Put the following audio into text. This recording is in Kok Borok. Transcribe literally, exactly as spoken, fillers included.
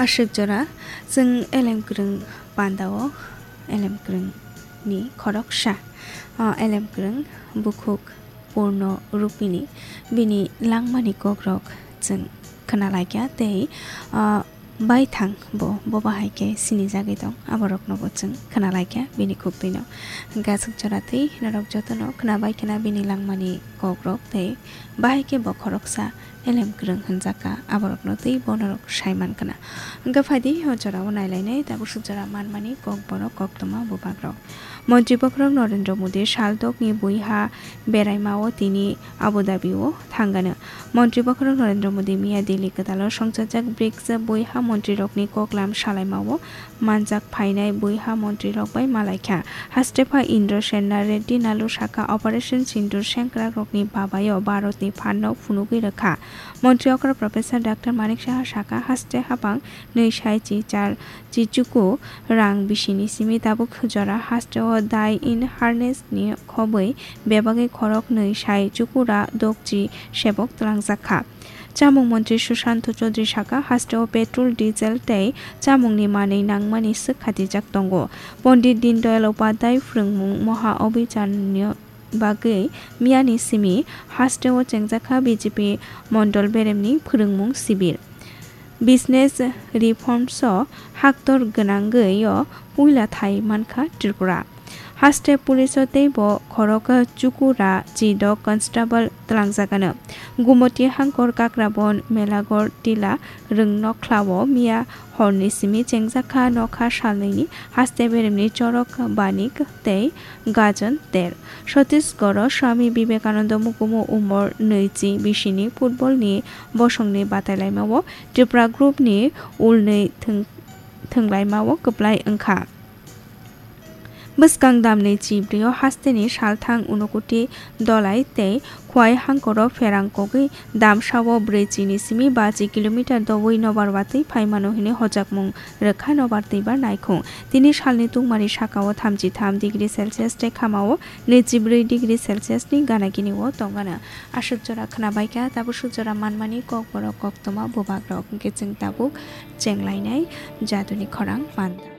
Aswk jora chwng elem kwrwng pandao elem kwrwngni khoroksa, o elem kwrwng bukhuk Purno Rupini bini langmani kokrok chwng khwnalaikha tei, o, baithang bo, bo bahai khe sinijagwi tong, aborokno bo chwng khwnalaikha bini khuk twino. Hwnkhe aswk jora twi norok jotono khwnabai khwna bini langmani kokrok tei bahai khe bo khoroksa elem kwrwng hwnjakha, aborokno tei bo norok sai mankhwna. Hwnkhe phaidi o jorao nailainai tabuk swk jora manmani kokborok koktwma bubagrok. Montri bokhorok Narendra Modi saldokni buiha beraimao tini Abu Dhabi-o thangano. Montri bokhorok Narendra Modi miya Delhi kwtalo songchajak brics buiha montrirokni koklam salaimao manjak phainai buiha montrirok bai malaikha. Hastepha Indra Senna Reddy Nalu sakha Operation Sindoor sengkrakrokni babayo Bharatni phanno phunugwi rwkha. Montri okra Professor Doctor Manik Saha sakha haste habang nwi sai chi char chi chuku rang bisini simi tabuk jora hasteo dai in harness ni khobwi bebagwi khorok nwi sai chuku ra dokchi sebok twlangjakha. Chamung montri Sushant Chaudhary sakha, hasteo petrol, diesel tei chamungni manwi nangmani swk khatijak tongo. Pondit Dindayal Upadhyay phwrwngmung Maha Abhiyanni bagwi miyani simi hasteo chengjakha B J P mondol beremni phwrwngmung sibir. Business reforms o haktor gwnangwi o puila thai mankha Tripura. Haste police o teibo khorok chukura chidok constable twlangjagano. Gumoti Hangkor Kakrabon Melagor Tila Rwngnokhlao miya horni simi chengjakha nokha salnwini haste beremni Chorok Banik tei Gajan Ter. Chhattisgarh o Swami Vivekananda Mukumu Umor nwichi bisini football ni bosongni batailaimao Tripura group ni ulnwi thwng-, thwnglaimao kwplai wngkha. Bwskang damni chibrio hasteni salthang Unukuti Dolai tei Khwai Hangkoro pherang kogwi damsao brwi chini simi bachi kilometer doui nobar watwi phaimano hwnwi hojakmung rwkha nobar twibar naikhung. Tini salni tungmani sakao thamchi tham degree Celsius tei khamao nwichi brwi degree Celsius ni gana gini o tongano. Aswk jora khwnabaikha, tabuk swk jora manmani kokborok koktwma bubagrok hwnkhe chwng tabuk chenglainai jaduni khorang panda.